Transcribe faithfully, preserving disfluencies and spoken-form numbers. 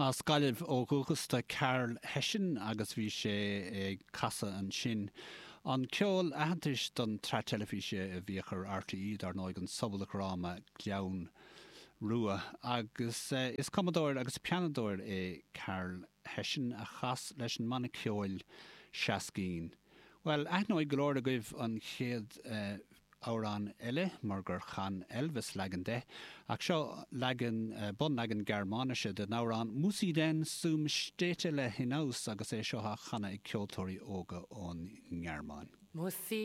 As Gaillimh ó dhúchas do Karl Hession agus bhí sé ag casadh ansin. An ceol aitheantais don tsraith teilifíse a bhíodh ar RTÉ dar ndóigh an sobaldráma Gleann Rua agus eh, is cumadóir agus pianadóir é Karl Hession a chas leis an mbanna ceoil Shaskeen. Well aithneoidh go leor agaibh an chéad uh, amhrán eile mar gur chan Elvis leagan de, ach seo leagan uh, bunleagan Gearmáinise den amhrán Muss i denn zum Städtele hinaus agus é seo á chanadh ag ceoltóirí óga ón nGearmáin. Muss i